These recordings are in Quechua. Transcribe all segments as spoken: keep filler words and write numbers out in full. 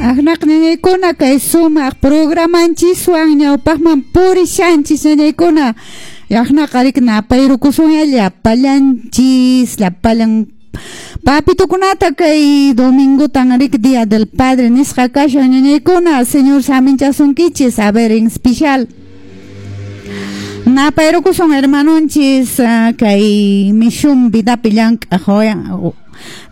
Aqnaq ñañaykuna kay sumaq programanchiswan ñawpaqman purishanchis ñañaykuna yaqnaqa riki napayrukusunya llapallanchis llapallan papitukunata kay domingotan riki Día del Padre nisqa kashan ñañaykuna Señor saminchasunkichis a ver en especial napayrukusun hermanonchis uh, kay misión vidapi llank'aq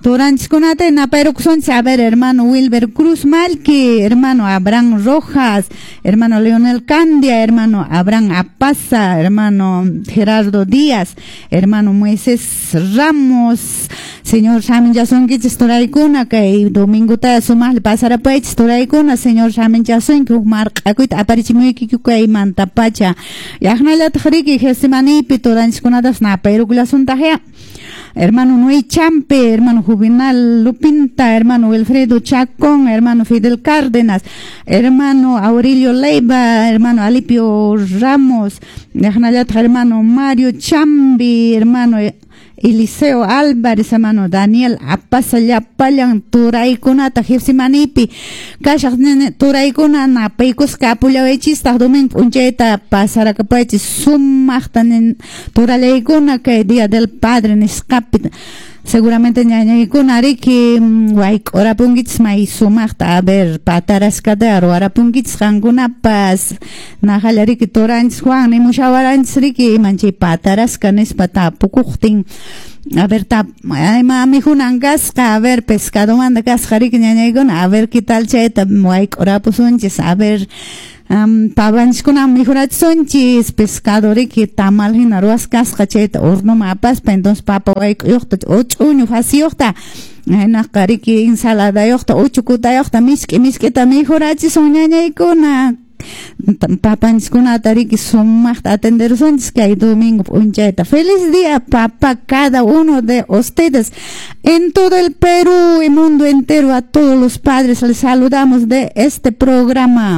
Turanchiskunata napayrukusunchis a ver hermano Wilber Cruz Malki, hermano Abraham Rojas, hermano Leonel Candia, hermano Abraham Apaza, hermano Gerardo Díaz, hermano Moisés Ramos, señor saminchasunkichis turaykuna kay domingota sumaqlla pasarapaychis turaykuna señor saminchasunki huk marq'akuyta aparichimuykiku kaymantapacha yaqnallataq riki Getsemanipi turanchiskunatas napayrukullasuntaqya hermano Noé Champe, hermano Juvenal Lupinta, hermano Wilfredo Chacón, hermano Fidel Cárdenas, hermano Aurelio Leiva, hermano Alipio Ramos, hermano Mario Chambi, hermano Eliseo Álvarez, hermano Daniel Apaza llapallan turaykunata Getsemanipi kashaq turaykuna napaykusqa apullawaychistaq domingo p'unchayta pasarakapaychis sumaqta turalaykuna kay Día del Padre nisqapi seguramente ñañaykuna riki wayk'urapunkichis may sumaqta a ver pataraskata ruwarapunkichis qankunapas naqalla riki turanchis Juan nimushawaranchis riki iman chay pataraska nispa tapukuqtin a ver tap ima mikhunan kasqa a ver pescadomanta kasqa riki ñañaykuna a ver qué tal chayta wayk'urapusunchis a ver um, papanchiskuna mikhurachisunchis pescado riki tamal hina ruwasqa kasqa chayta hornoman apaspa entonces papa wayk'uyuqta ch'uñu fasiyuqta hinaqa riki ensaladayuqta uchukutayuqta misk'i misk'ita mikhurachisun ñañaykuna papanchiskunata riki sumaqta atenderusunchis kay domingo p'unchayta feliz día papá cada uno de ustedes en todo el Perú y mundo entero a todos los padres les saludamos de este programa.